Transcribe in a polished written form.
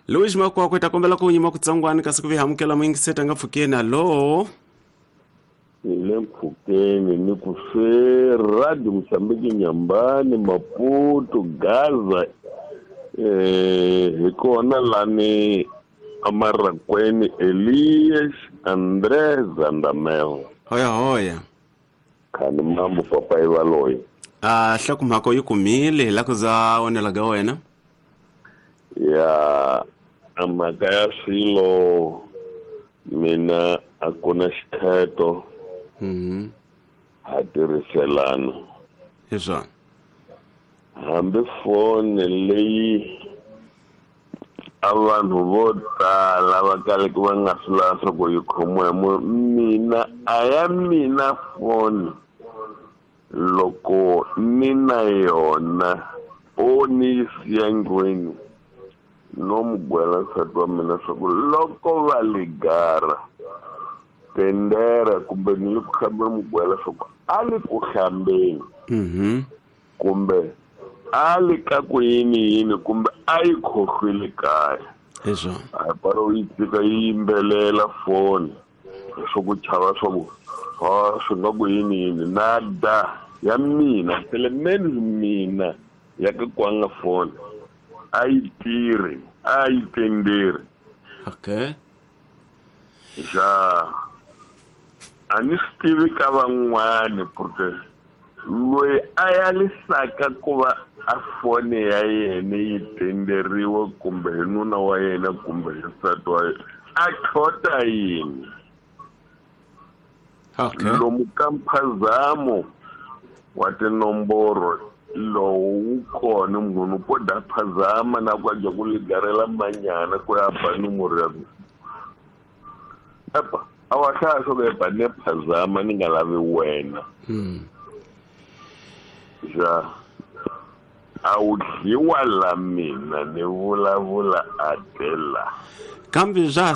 Louis Makwakwe ta kombela ku nyima kutsongwani kasi ku vi hamukela muyingiseti a nga pfukeni. Hallo. Hi le mpfhukeni ni ku swe Radio Mozambique, Nyambani, Maputo, Gaza, hi kona lani Amarakweni, Elias André Zandamel. Hoya hoya. Khani mambo papa Ivaloyi. A hlokomhaka yi kumile hi la ku za onela ga wena. Ya, a mhaka ya swilo mina a ku na xikheto. Ha tirhiselana. Hi swona. Hambi foni leyi a vanhu vo tala va kaleke va nga swi lava swa ku yi khomiwa hi munhu, mina a ya mina foni loko ni na yona o ni yi siya ndlwini no mu gwela nsati wa mina swa ku loko va ligara tendera kumbe ni le ku hlambeni, mu gwela swa ku a le ku hlambeni kumbe a le ka ku yini yini kumbe a yi khohlwile kaya. Hi swona. A paro yi tshika yi yimbelela foni swo ku chava swa ku ha swi nga ku yini yini na da ya mina selemeni mina ya ka kwanga foni a yi tirhi, a yi tenderi. Okay. Ja, a ni swi tivi ka van'wani porque loyi a yalisaka ku va a foni ya yena yi tenderiwa kumbe hi nuna wa yena kumbe hi nsati wa yena a tlhota yini. Okay. Lomu ka mphazamo wa tinomboro lowu wu kona, munhu ko da phazama na ku a ku ligarela manyana ku ya ba nomoro ya ku epa a wa hlaya swo ku epa ne phazama ni nga lavi wena. Ja, a wu dliwa la mina ni vulavula a tela. Kambe bya